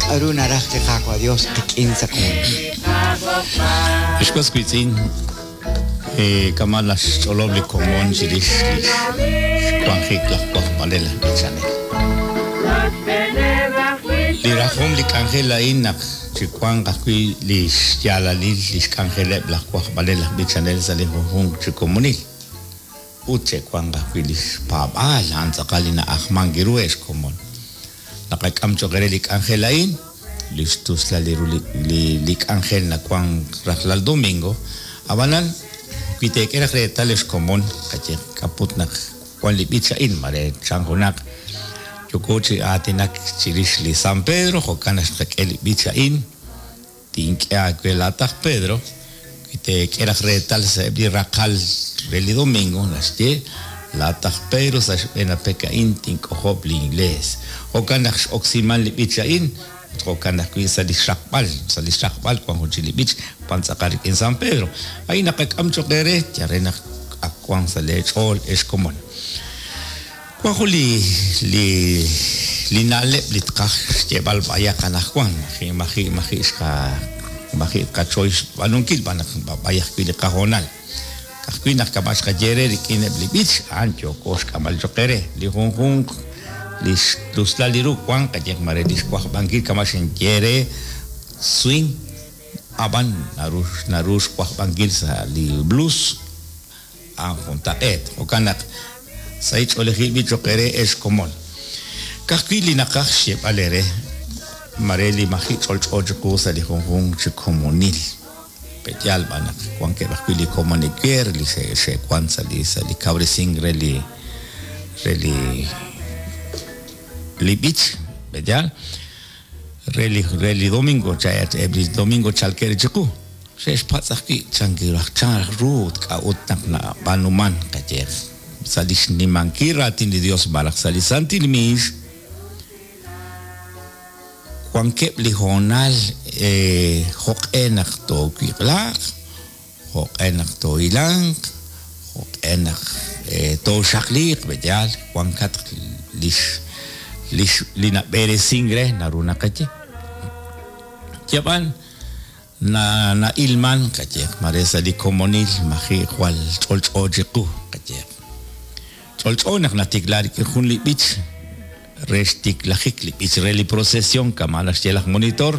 K'a'ru naraj li Qaawa' Dios qik'in sa' komonil? Ex was wiitz'in, kama' naxch'olob' li komon chirix lix xwanjik laj wajb'anel aj b'ichanel. Li rajom li k'anjel a'in naq chiwanq ajwi' lix yaalalil lix k'anjeleb' laj wajb'anel aj b'ichanel sa' li junjunq chi komonil. Ut che'wanq ajwi' lix paab'aal, a'an tz'aqal li na'ajmank ru ex komon. Naqak'am choq' eere li k'anjel a'in, li xtuslal li ru li li k'anjel nawan rajlal domingo. A'b'anan, wi teek'e raj reetal ex komon, qaye k'a'put naq wan li b'ich a'in, mare chan junaq yooko chi aatinak chirix li San Pedro, jo'kan naq xqak'e li b'ich a'in, Tink'e aawe laa'at aj Pedro, wi teek'e raj reetal sa'eb' li raqal re li domingo, naxye, Laa'at aj Pedro, sa' xb'een a pek a'in tink'ojob' linIglees. Jo'kan naq x'oksiman li b'ich a'in, ut jo'kan ajwi' sa' li xraqb'al. Sa' li xraqb'al wank jun chik li b'ich wank tz'aqal rik'in San Pedro. A'in naqak'am cho'q eere, yal re naq ak wank sa' leech'ool, ex komon. Wan jun li li li na'leb' li tqaj xyeeb'al b'ayaq anaqwan, maji' maji' maji' xqa maji' tqachoy xb'aanunkil b'an naq b'ab'ay ajwi' li qahoonal. Ka'ajwi' naq kama' xqaye eere rik'in eb' li b'ich, a'an yooko xk'amb'al cho'q eere. Li junjunq li xtuslal li ru wank qayehaq mare li xwajb'ankil kama' xinye eere swing, ab'an naru naru xwajb'ankil sa' li blues. A'an juntaq'eet. Jo'kan naq sahil ch'oolejil b'i' cho'q eere ex komon. Ka'ajwi' li naqaj xyeeb'al eere, mare li maji' ch'olch'o chiqu sa' li junjunq chi komonil. Pe'yaal b'an naq wankeb' ajwi' li komon ewer li xe'wan sa' li sa' li kawresink re li re li li b'ich, pe'yaal? Re li re li domingo, eb' li domingo chalkeb' re chiqu. Xe'xpatz' ajwi' chan raj chan raj ru ut k'a'ut naq nab'aanuman, qayehaq, sa' li xnimankil raatin li Dios malaj sa' li santil miix, wankeb' li hoonal jo'q'e naq toowiq'laaq, jo'q'e naq toohilanq, jo'q'e naq tooxaqliiq, pe'yaal wankatq lix lix li nab'eresink re naru naqaye. Yab'an Na na'ilman, qayehaq, mare sa' li komonil maji' jwal ch'olch'o chiqu, qayehaq. Ch'olch'o naq natikla rik'in jun li b'ich re xtiklajik li b'ich re li procesion kama' naxye laj monitor,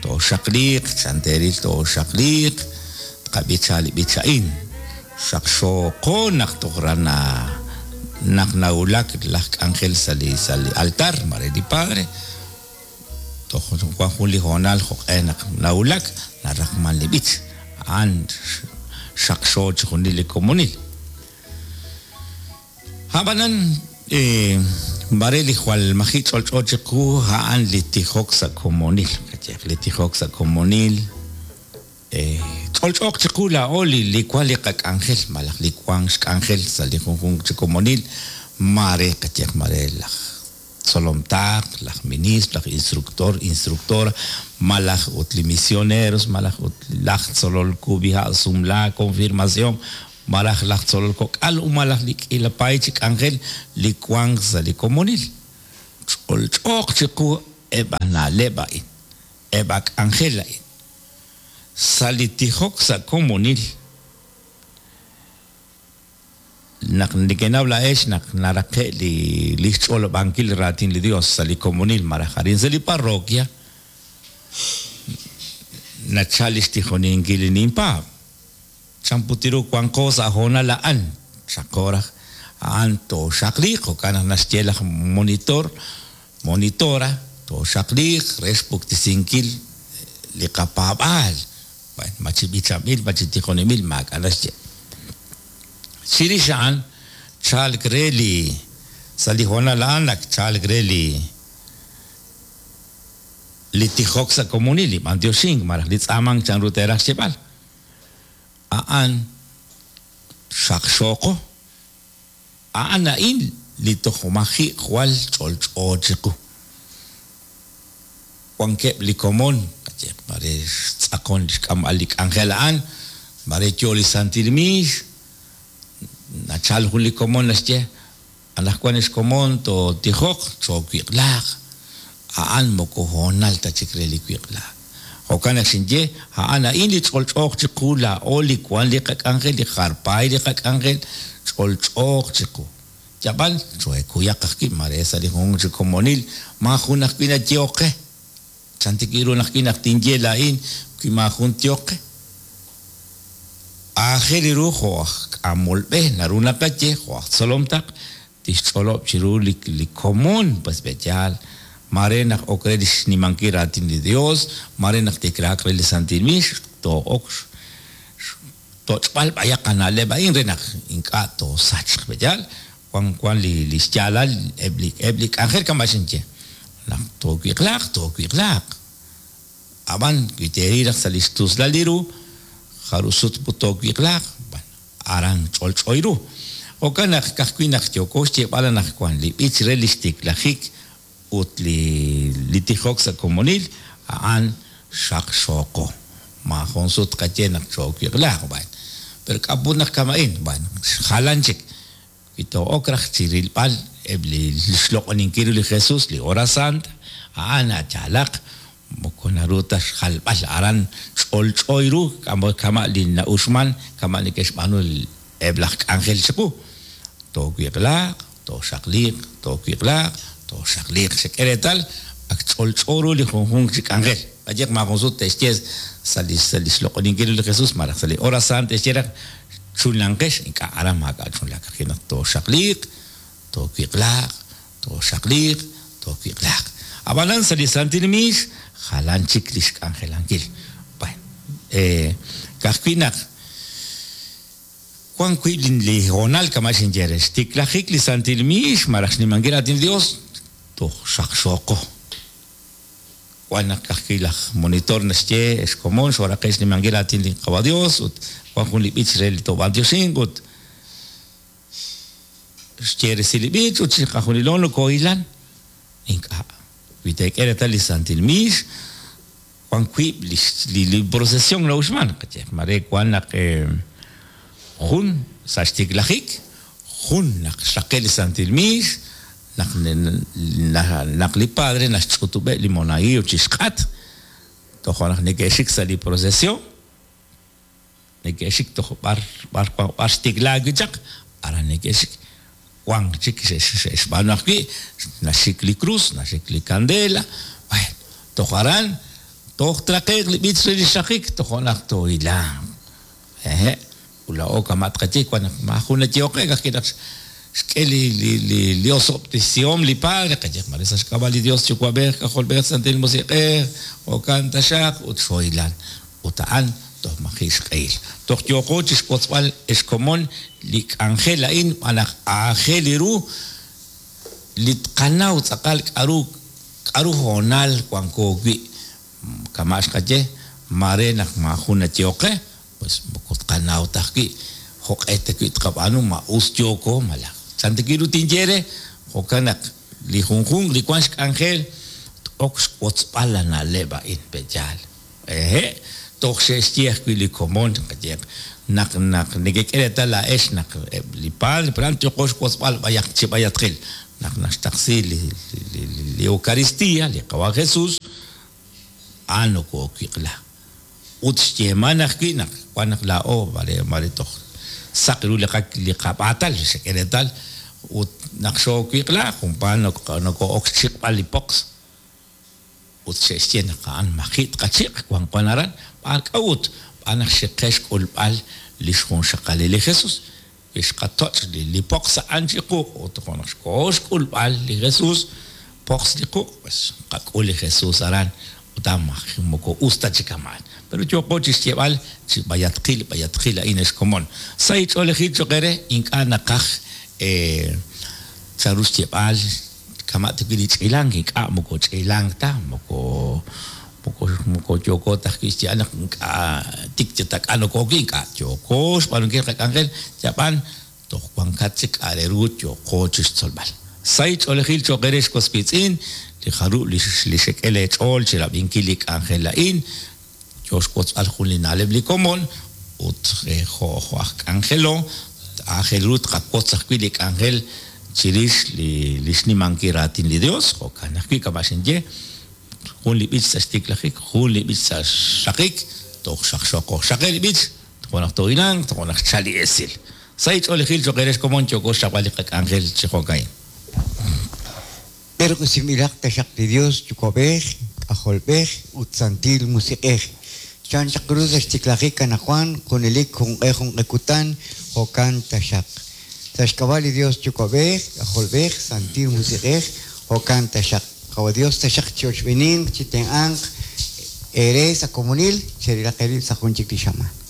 Tooxaqliiq, chan teeril tooxaqliiq, tqab'icha li b'ich a'in. Xaqxooqo naq toj ra na naq nawulak laj k'anjel sa' li sa' li altar, mare li padre, Toj wan jun li hoonal jo'q'e naq nawulak, naraqman li b'ich. A'an xaqxo chixjunil li komonil. A'b'anan, maare li jwal maji' ch'olch'o chiqu a'an li tijok sa' komonil. Qayehaq, li tijok sa' komonil, ch'olch'ooq chiqu laa'o li wan li qak'anjel malaj li wan xk'anjel sa' li junjunq chi komonil, maare qayehaq, maare laj tzolom taql, laj ministro, laj instructor, instructora, malaj ut li misioneros, malaj ut laj tzolol kub'iha', sumlaak, konfirmasion, malaj laj tzolol kok'al, ut malaj li k'iila paay chi k'anjel li wank sa' li komonil. Ch'olch'ooq chiqu eb' a na'leb' a'in, eb' a k'anjel a'in. Sa' li tijok sa' komonil, Naq nekenaw laa'ex naq naraqe' li lix ch'olob'ankil raatin li Dios sa' li komonil malaj arin sa' li parroquia, nachal lix tijoninkil li ninpaab'. Chan put ru wanqo sa' hoonal a'an? Xaqo raj a'an tooxaqliiq, jo'kan naq naxye laj monitor, monitora, tooxaqliiq re xpuktesinkil li qapaab'aal. Bueno, ma chi b'ichanb'il, ma chi tijoninb'il, maak'a' naxye. Chirix a'an, chalk re li, sa' li hoonal a'an ak chalk re li, li tijok sa' komonil, li b'antioxink malaj li tz'aamank chanru teeraj xyeeb'al. A'an xaqxooqo. A'an a'in li toj maji' jwal ch'olch'o chiqu. Wankeb' li komon, qayehaq mare xtz'aqon li xk'amb'al li k'anjel a'an, mare yoo li santil miix, nachal jun li komon naxye, Anaqwan ex komon tootijoq, choowiq'laaq. A'an moko hoonal ta chik re li wiq'laak. Jo'kan naq xinye, a'an a'in li ch'olch'ooq chiqu laa'o li wan li qak'anjel, li jar paay li qak'anjel, ch'olch'ooq chiqu. Yab'al, choohekuyaq ajwi' mare sa' li junjunq chi komonil maajun ajwi' nayehok qe. Chan tik ru naq wi naq tinye laa'in wi maajun tyehoq qe. Aajel ru jo' aj k'amol b'e naru naqaye jo' aj tzolom taql tixch'olob' chiru li li komon pues pe'yaal maare naq ok re li xnimankil raatin li Dios, maare naq tiklaaq re li santil miix, too'ok xtoch'b'al b'ayaq qana'leb' a'in re naq ink'a' toosachq. Pe'yaal wan wan li li xyaalal eb' li eb' li k'anjel kama' xinye. Naq toowiq'laaq, toowiq'laaq. Ab'an wi teeril raj sa' li xtuslal li ru, jarub' sut put toowiq'laaq, b'an aran ch'olch'o ru. Jo'kan naq ka'ajwi' naq yooko xyeeb'al anaqwan li b'ich re li xtiklajik ut li li tijok sa' komonil, a'an xaqxooqo. Maajun sut tqaye naq choowiq'laaq, b'an. Pero k'a' put naq kama'in? B'an, jalan chik. Wi too'ok raj chi rilb'al eb' li xloq'oninkil ru li Jesus, li hora santa, a'an yaalaq moko naru ta xjalb'al aran ch'olch'o ru kama' li na'uxman, kama' neke'xb'aanu eb' laj k'anjel chiqu. Toowiq'laaq, tooxaqliiq, toowiq'laaq, tooxaqliiq. Xek'e reetal ak ch'olch'o ru li junjunq chi k'anjel. Qayehaq maajun sut te'xye sa' li sa' li xloq'oninkil ru li Jesus malaj sa' li hora santa te'xye raj chunlanqex, ink'a' aran maak'a' chunlaak. Ka'ajwi' naq tooxaqliiq, toowiq'laaq, tooxaqliiq, toowiq'laaq. Ab'anan sa' li santil miix jalan chik li xk'anjelankil. Bueno, ka'ajwi' naq wan wi' li hoonal kama' xinye re, xtiklajik li santil miix malaj xnimankil raatin li Dios, toj xaqxooqo. Wan naq ka'ajwi' laj monitor naxye, Ex komon, xooraqe' xnimankil raatin li Qawa' Dios ut wan jun li b'ich re li toob'antioxinq ut xye resil li b'ich ut chiqajunilo nokohilan. Ink'a'. Wi teek'e reetal li santil miix, wan wiib' li li procesion na'uxman. Qayehaq, maare wan naq jun sa' xtiklajik, jun naq xraqe' li santil miix, Naq naq li padre naxch'utub'eb' li monaguillo chixk'atq, toja' naq neke'xik sa' li procesion, neke'xik toj b'ar b'ar wan b'ar xtiklaak wi' chaq, aran neke'xik. Wank chik xe'xb'aanu ajwi', naxik li krus, naxik li kandela, bueno, toj aran toj traqe'q li b'ich re li xraqik, toja' naq toohilanq. Hehe', ut laa'o kama' tqaye, wan naq maajun nayehok qe, ka'ajwi' naq xk'e li, li, li, li osob'tesihom li Padre, qayehaq mare sa' xk'ab'a' li Dios Yuwa'b'ej, K'ajolb'ej, Santil Musiq'ej, jo'kan taxaq, ut xhoylal. Ut a'an toj maji' xq'ehil. Toj yooqo chixwotzb'al ex komon li k'anjel a'in xb'aan naq aajel ru li tqanaw tz'aqal k'a'ru k'a'ru hoonal wanko wi'. Kama' xqaye, maare naq maajun nayehok qe, pues moko tqanaw ta ajwi' jo'q'e ta wi' tqab'aanu, ma us yooko malaj chan ta wi' ru tinye re. Jo'kan naq li junjunq li wank xk'anjel t-ok xwotzb'al la na'leb' a'in, pe'yaal? Hehe', toj xe'xye ajwi' li komon, qayehaq, naq naq nekek'e reetal laa'ex naq eb' li padre, pero a'an yooqo xwotzb'al b'ayaq chi b'ayatqil, naq naxtaqsi li li li Eucaristía, li Qawa' Jesús, a'an nokoowiq'la. Ut xyeeman ajwi' naq wan naq laa'o mare mare toj saq ru li qa li qab'aatal, xek'e reetal, ut naq xoowiq'la junpaat nokoo'ok xchiq'b'al li poqs. Ut xe'xye naq a'an maji' tqachiq' wan wan aran. B'aan k'a'ut? B'aan naq xiqe xk'ulb'al li xjunxaqalil li Jesus. Wi xqatoch' li li poqs a'an chi quq' ut jo' naq xkoho xk'ulb'al li Jesus, poqs li quq', pues xqak'ul li Jesus aran ut a'an moko us ta chi kama'an. Pero yooqo chixyeeb'al chi b'ayatqil b'ayatqil a'in ex komon. Sahil ch'oolejil choq' eere, ink'a' naqaj chanru xyeeb'al kama' ta wi' li ch'ilank, ink'a' moko ch'ilank ta, moko moko moko yooko ta ajwi' xyeeb'al naq ink'a' tik yatak'a nokoowi', ink'a' yooko xb'aanunkil qak'anjel, yab'an toj wankat chik k'a' re ru yooqo chixtzolb'al. Sahil ch'oolejil cho'q eere ex was wiitz'in, li jarub' li li xek'e lee ch'ool chirab'inkil li k'anjel a'in, yoo xwotzb'al jun li na'leb' li komon ut jo' jo' aj k'anjelo, aajel ru tqawotz ajwi' li k'anjel. chirix li li xnimankil raatin li Dios, jo'kan ajwi' kama' xinye, jun li b'ich sa' xtiklajik, jun li b'ich sa' xraqik, toj xaqxoqo. Xraqe' li b'ich, toja' naq toohilanq, toja' naq xchal li esil. Sahil ch'oolejil cho'q eere xkomon yooko xchapb'al li qak'anjel chi jo'ka'in. B'eerq'usinb'ilaq taxaq li Dios Yuwa'b'ej, K'ajolb'ej, ut Santil Musiq'ej. Chan chaq ru sa' xtiklajik anaqwan, junelik junq'e junq'e kutan, jo'kan taxaq. Sa' xk'ab'a' li Dios Yuwa'b'ej, K'ajolb'ej, Santil Musiq'ej, jo'kan taxaq. Qawa' Dios taxaq chi ochb'eeninq, chi tenq'anq eere sa' komonil, cherilaq eerib' sa' jun chik li xamaan.